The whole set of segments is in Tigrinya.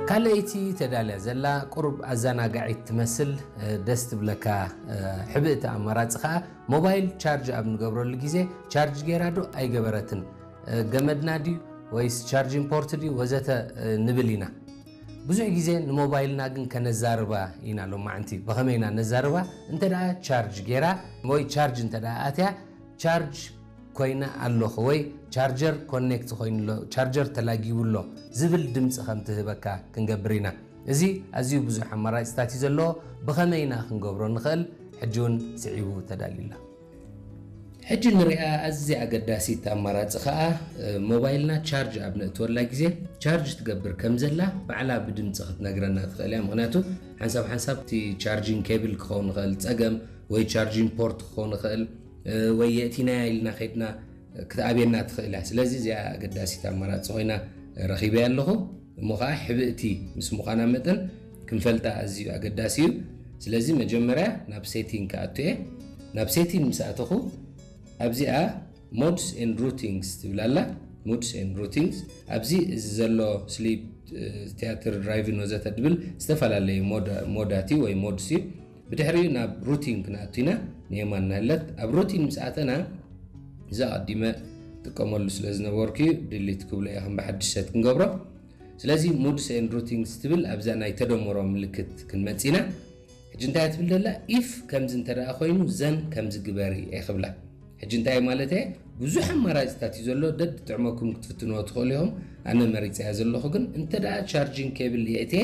ካልኣይቲ ተዳልያ ዘላ ቁሩብ ኣዘናጋዒት ትመስል፣ ደስ ትብለካ። ሕብእቲ ኣማራፂ ከዓ ሞባይል ቻርጅ ኣብ ንገብረሉ ግዜ ቻርጅ ገይራ ዶ ኣይገበረትን፣ ገመድና ድዩ ወይስ ቻርጅን ፖርት ድዩ ወዘተ ንብል ኢና። ብዙሕ ግዜ ንሞባይልና ግን ከነዛርባ ኢና። ሎማዕንቲ ብኸመይ ኢና ነዛርባ? እንተ ደኣ ቻርጅ ገይራ ወይ ቻርጅ እንተ ደኣ ኣትያ፣ ቻርጅ ኮይነ ኣለኹ ወይ ቻርጀር ኮኔክት ኮይኑሎ፣ ቻርጀር ተላጊቡሎ ዝብል ድምፂ ከም ትህበካ ክንገብር ኢና። እዚ ኣዝዩ ብዙሕ ኣማራፅታት እዩ ዘለዎ። ብኸመይ ኢና ክንገብሮ ንኽእል? ሕጂ እውን ስዒቡ ተዳልዩላ። ሕጂ ንሪኣ ኣዝያ ኣገዳሲት ኣማራፂ ከዓ፣ እ፣ ሞባይልና ቻርጅ ኣብ ነእትወላ ግዜ ቻርጅ ትገብር ከም ዘላ ባዕላ ብድምፂ ክትነግረና ትኽእል እያ። ምኽንያቱ ሓንሳብ ሓንሳብ እቲ ቻርጂንግ ኬብል ክኸውን ይኽእል ፀገም ወይ ቻርጂንግ ፖርት ክኸውን ይኽእል፣ እ፣ ወይ የእቲናያ ኢልና ከይድና ክትኣብየና ትኽእል እያ። ስለዚ እዚኣ ኣገዳሲት ኣማራፂ ኮይና ረኺበያ ኣለኹ። እሞ ከዓ ሕብእቲ ምስ ምዃና መጠን ክንፈልጣ ኣዝዩ ኣገዳሲ እዩ። ስለዚ መጀመርያ ናብ ሴቲንግ ክኣቱ እየ። ናብ ሴቲንግ ምስ ኣተኹ ኣብዚኣ ሞድስ ኤንድ ሩቲንግስ ትብል ኣላ። ሞድስ ኤንድ ሩቲንግስ ኣብዚ እዚ ዘሎ ስሊፕ፣ ቲያትር፣ ድራይቪን ወዘተ ድብል ዝተፈላለዩ ሞዳ-፣ ሞዳት እዩ ወይ ሞድስ እዩ። ብድሕሪኡ ናብ ሩቲን ክንኣቱ ኢና። ንየማን ናለት ኣብ ሩቲን ምስ ኣተና እዛ ኣቐዲመ ጥቀመሉ ስለ ዝነበርኩ እዩ ድሊት ክብሎ እየ ከም ብሓድሽ ሰት ክንገብሮ። ስለዚ ሞድስ ኤንድ ሩቲንግስ ትብል ኣብዛ ናይ ተደምሮ ምልክት ክንመጽእ ኢና። ሕጂ እንታይ ትብል ደላ? ኢፍ ከምዚ እንተ ደኣ ኮይኑ ዘን ከምዚ ግበሪ እየ ክብላ። ሕጂ እንታይ ማለት እየ? ብዙሕ ኣማራፅታት እዩ ዘሎ፣ ደድ ጥዕመኩም ክትፍትንዎ ትኽእሉ ኢኹም። ኣነ መሪፀያ ዘለኹ ግን እንተ ደኣ ቻርጂንግ ኬብል የእትየ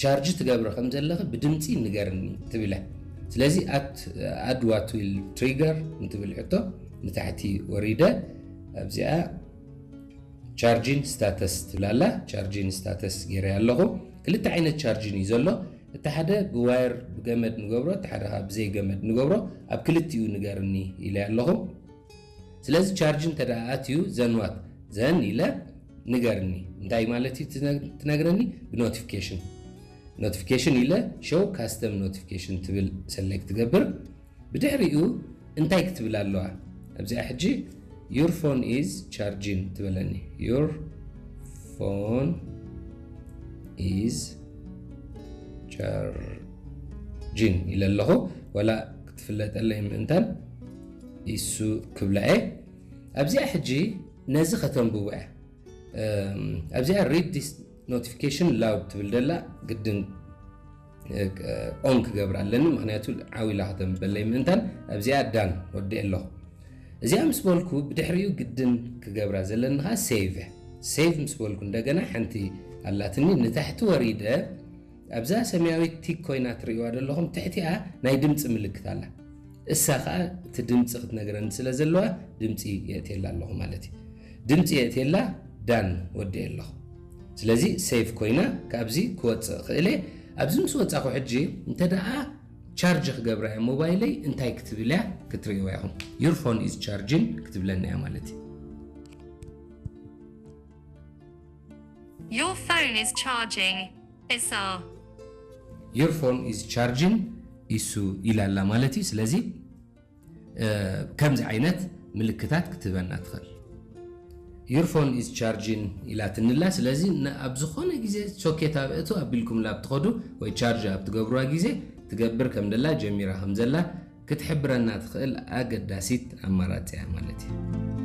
ቻርጅ ትገብሪ ከም ዘለኺ ብድምፂ ንገርኒ ትብለ። ስለዚ ኣድ ዋት ዊል ትሪገር እንትብል ሕቶ ንታሕቲ ወሪደ ኣብዚኣ ቻርጂን ስታተስ ትብላላ። ቻርጂን ስታተስ ገይረ ኣለኹ። ክልተ ዓይነት ቻርጂን እዩ ዘሎ። እቲ ሓደ ብዋየር ብገመድ ንገብሮ፣ እቲ ሓደ ከዓ ብዘይ ገመድ ንገብሮ። ኣብ ክልቲኡ ንገርኒ ኢለ ኣለኹ። ስለዚ ቻርጅ እንተ ደኣ ኣትዩ ዘንዋት ዘን ኢለ ንገርኒ። እንታይ ማለት እዩ ትነ-፣ ትነግረኒ? ብኖቲፊኬሽን። ኖቲፊኬሽን ኢለ ሾው ካስተም ኖቲፊኬሽን ትብል ሰሌክት ትገብር። ብድሕሪኡ እንታይ ክትብል ኣለዋ? ኣብዚኣ ሕጂ your phone is charging ትበለኒ። Your phone is charging ኢለ ኣለኹ። ወላ ክትፍለጠለይ ምእንታን ኢሱ ክብላ እየ። ኣብዚኣ ሕጂ ነዚ ከተንብቦ እያ። እም፣ ኣብዚኣ read this notification loud ትብል ደላ ግድን፣ እ፣ ኦን ክገብር ኣለኒ፣ ምኽንያቱ ዓው ኢላ ከተንብበለይ ምእንታን። ኣብዚኣ ዳን ወዲኤ ኣለኹ። እዚኣ ምስ በልኩ ብድሕሪኡ ግድን ክገብራ ዘለኒ ኸዓ ሴቭ እያ። ሴቭ ምስ በልኩ እንደገና ሓንቲ ኣላትኒ ንታሕቲ ወሪደ ኣብዛ ሰማያዊት ቲክ ኮይና ትርእይዋ ዘለኹም ትሕቲኣ ናይ ድምፂ ምልክት ኣላ። እሳ ኸዓ እቲ ድምፂ ክትነግረኒ ስለ ዘለዋ ድምፂ የእትየላ ኣለኹ ማለት እዩ። ድምፂ የእትየላ ዳን ወዲኤ ኣለኹ። ስለዚ ሴቭ ኮይና ካብዚ ክወፅእ ክእለ። ኣብዚ ምስ ወፃኹ ሕጂ እንተ ደኣ ቻርጅ ክገብራ እያ ሞባይለይ እንታይ ክትብል እያ ክትርእይዋ ኢኹም። Your phone is charging ክትብለና እያ ማለት እዩ። Your phone is charging. Isa. Your phone is charging ኢሱ ኢላ ኣላ ማለት እዩ። ስለዚ እ፣ ከምዚ ዓይነት ምልክታት ክትህበና ትኽእል። Your phone is charging ኢላትንላ። ስለዚ ን-፣ ኣብ ዝኾነ ግዜ ሶኬት ኣብ እቱ ኣቢልኩምላ ኣብ ትኸዱ ወይ ቻርጅ ኣብ ትገብሩዋ ግዜ ትገብር ከም ደላ ጀሚራ ከም ዘላ ክትሕብረና ትኽእል ኣገዳሲት ኣማራፂ እያ ማለት እዩ።